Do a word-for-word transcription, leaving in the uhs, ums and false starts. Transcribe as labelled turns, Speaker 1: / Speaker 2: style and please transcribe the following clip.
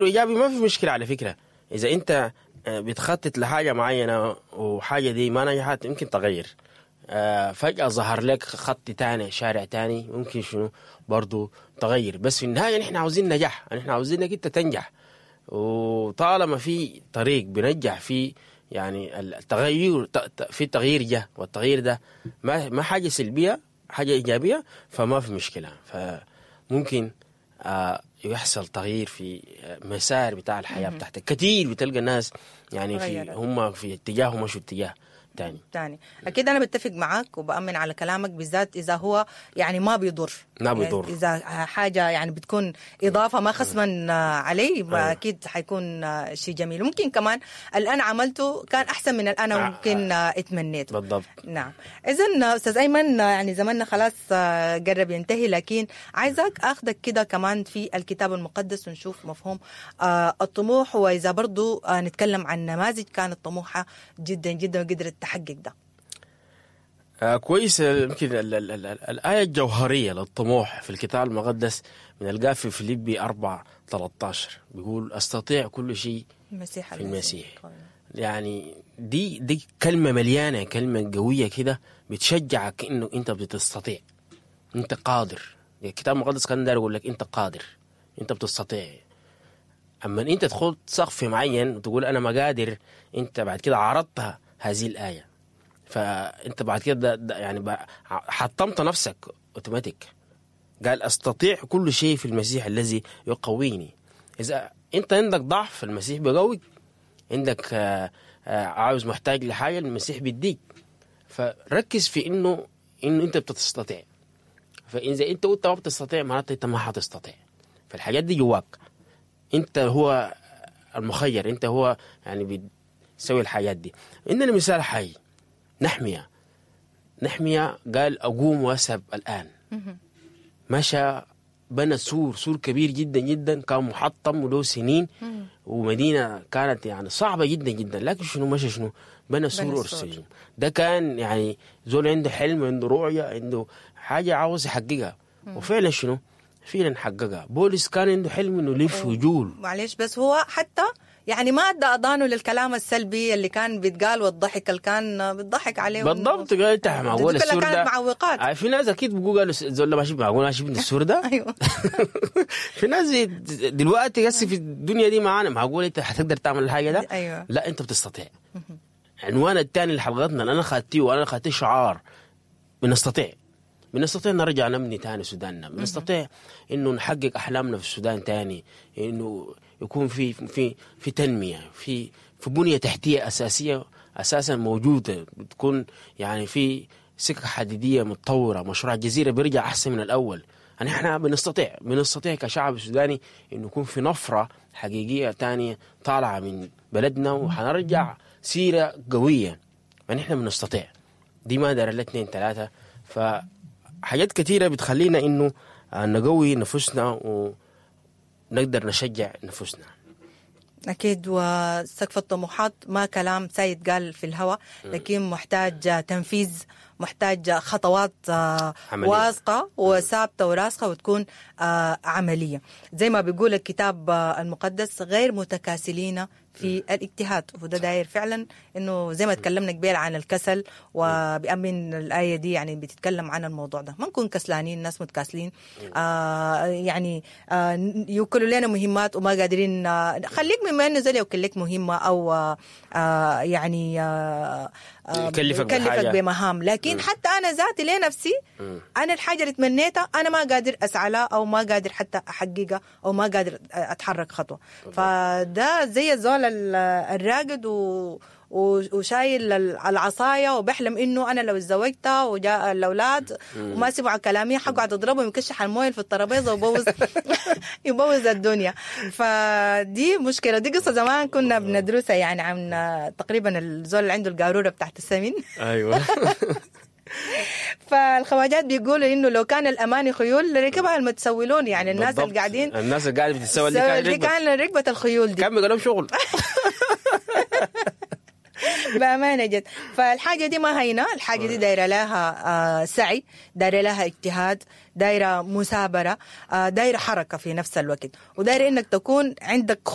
Speaker 1: ايجابي ما في مشكلة على فكرة. اذا انت آه، بتخطط لحاجة معينة وحاجه دي ما نجحت يمكن تغير. آه، فجاة ظهر لك خط تاني، شارع تاني، ممكن شنو برضو تغير. بس في النهاية نحن عاوزين نجاح، نحن عاوزين انك انت تنجح. وطالما في طريق بنجح فيه يعني التغير، ت- ت- في تغيير جه، والتغيير ده ما ما حاجة سلبية، حاجة ايجابية، فما في مشكلة. فممكن آه، يحصل تغيير في آه، مسار بتاع الحياة بتاعتك. كثير بتلقى الناس يعني في
Speaker 2: غيرت.
Speaker 1: هم في اتجاه ومشوا اتجاه تاني.
Speaker 2: تاني اكيد انا بتفق معاك وبامن على كلامك، بالذات اذا هو يعني ما بيضر.
Speaker 1: ما بيضر.
Speaker 2: يعني اذا حاجة يعني بتكون اضافه ما خصما علي، ما
Speaker 1: أيوة.
Speaker 2: اكيد حيكون شيء جميل. ممكن كمان اللي انا عملته كان احسن من اللي انا
Speaker 1: آه،
Speaker 2: ممكن اتمنيته.
Speaker 1: بالضبط.
Speaker 2: نعم. اذا استاذ ايمن، يعني زماننا خلاص قرب ينتهي، لكن عايزك اخذك كده كمان في الكتاب المقدس ونشوف مفهوم آه، الطموح، واذا برضو آه، نتكلم عن نماذج كانت طموحه جدا جدا وقدرت تحقق ده.
Speaker 1: آه كويس. آه، يمكن ال ال ال ال الآية الجوهرية للطموح في الكتاب المقدس بنلقاها في فيليبي أربعة ثلاثة عشر، بيقول أستطيع كل شيء
Speaker 2: المسيح
Speaker 1: في المسيح. يعني دي دي كلمة مليانة، كلمة قوية كده بتشجعك إنه أنت بتستطيع، أنت قادر. الكتاب المقدس كان داير يقول لك أنت قادر، أنت بتستطيع. أما إن أنت تخط سقف معين وتقول أنا ما قادر، أنت بعد كده عارضتها هذه الآية، فأنت بعد كده ده ده يعني بقى حطمت نفسك اوتوماتيك. قال استطيع كل شيء في المسيح الذي يقويني. اذا انت عندك ضعف المسيح بيقويك، عندك آه، آه، عاوز محتاج لحاجة المسيح بيديك. فركز في انه انه انت بتستطيع. فاذا انت قلت ما بتستطيع معناته انت ما حتستطيع. فالحاجات دي جواك، انت هو المخير، انت هو يعني بتسوي الحاجات دي. عندنا مثال حي، نحمية. نحمية قال اقوم واذهب الان، مشى بنى سور، سور كبير جدا جدا كان محطم وله سنين، ومدينة كانت يعني صعبة جدا جدا، لكن شنو؟ مشى شنو؟ بنى سور
Speaker 2: سور.
Speaker 1: اورشليم. ده كان يعني زول عنده حلم، عنده رؤية، عنده حاجة عاوز يحققها، وفعلا شنو؟ فعلا حققها. بولس كان عنده حلم انه يلف ويجول.
Speaker 2: معلش، بس هو حتى يعني ما ادى اذانه للكلام السلبي اللي كان بيتقال والضحك اللي كان بيضحك عليه.
Speaker 1: بالضبط. قال انت معقول
Speaker 2: دي كلها
Speaker 1: السور
Speaker 2: كانت
Speaker 1: ده؟
Speaker 2: معوقات.
Speaker 1: آه، في ناس اكيد بيقولوا، قالوا الزول ده ماشي، معقول ماشي من السور ده؟
Speaker 2: ايوه.
Speaker 1: في ناس دلوقتي هسه في الدنيا دي معانا، معقول انت حتقدر تعمل الحاجة ده؟
Speaker 2: ايوه.
Speaker 1: لا، انت بتستطيع. عنوان الثاني لحلقتنا اللي انا خدتيه، وانا خدتيه شعار، بنستطيع. بنستطيع نرجع نبني تاني سوداننا، بنستطيع انه نحقق احلامنا في السودان تاني، انه يكون في في في تنميه، في في بنيه تحتيه اساسية اساسا موجوده، بتكون يعني في سكة حديديه متطوره، مشروع الجزيرة بيرجع احسن من الاول. يعني احنا بنستطيع، بنستطيع كشعب سوداني انه يكون في نفره حقيقية تانية طالعه من بلدنا، وحنرجع سيره قويه. يعني احنا بنستطيع، دي ما دار الا اثنين ثلاثه. فحاجات كثيرة بتخلينا انه آه، نقوي نفوسنا ونقدر نشجع نفوسنا.
Speaker 2: أكيد، وسقف الطموحات ما كلام سيد قال في الهواء، لكن محتاج تنفيذ، محتاج خطوات آه،
Speaker 1: عملية.
Speaker 2: واثقة وثابتة وراسخة وتكون آه، عملية، زي ما بيقول الكتاب آه، المقدس: غير متكاسلين في الاجتهاد. وده داير فعلا انه زي ما تكلمنا قبيل عن الكسل، وبأمن الآية دي يعني بتتكلم عن الموضوع ده، ما نكون كسلانين، ناس متكاسلين، آه يعني آه يوكلوا لنا مهمات وما قادرين. آه خليك مما انه زول يوكل لك مهمة او آه آه يعني آه آه
Speaker 1: يكلفك
Speaker 2: يكلفك
Speaker 1: بحاجة.
Speaker 2: بمهام، لكن حتى انا ذاتي لنفسي، انا الحاجة اللي تمنيتها انا ما قادر اسعى لها او ما قادر حتى احققها او ما قادر اتحرك خطوه. فده زي الزول ال- الراقد و و- وشايل العصاية وبحلم انه انا لو اتزوجت وجاء الاولاد وما سمعوا كلامي حقعد اضربهم، يكشح المويه في الترابيزة ويبوظ يبوظ الدنيا. فدي مشكله. دي قصة زمان كنا بندرسها يعني عن تقريبا الزول اللي عنده القاروره بتاعت السمن.
Speaker 1: ايوه
Speaker 2: فالخواجات بيقولوا انه لو كان الاماني خيول لركبها المتسولون، يعني الناس
Speaker 1: بالضبط.
Speaker 2: اللي قاعدين
Speaker 1: الناس اللي قاعدة بتتسول دي كان
Speaker 2: دي
Speaker 1: ركبت
Speaker 2: كان ركبه الخيول دي.
Speaker 1: كان بيقول لهم شغل.
Speaker 2: بامانه جد. فالحاجه دي ما هينة، الحاجة دي دايرة لها آه، سعي، دايرة لها اجتهاد، دايرة مثابره، آه، دايرة حركة في نفس الوقت، ودايره انك تكون عندك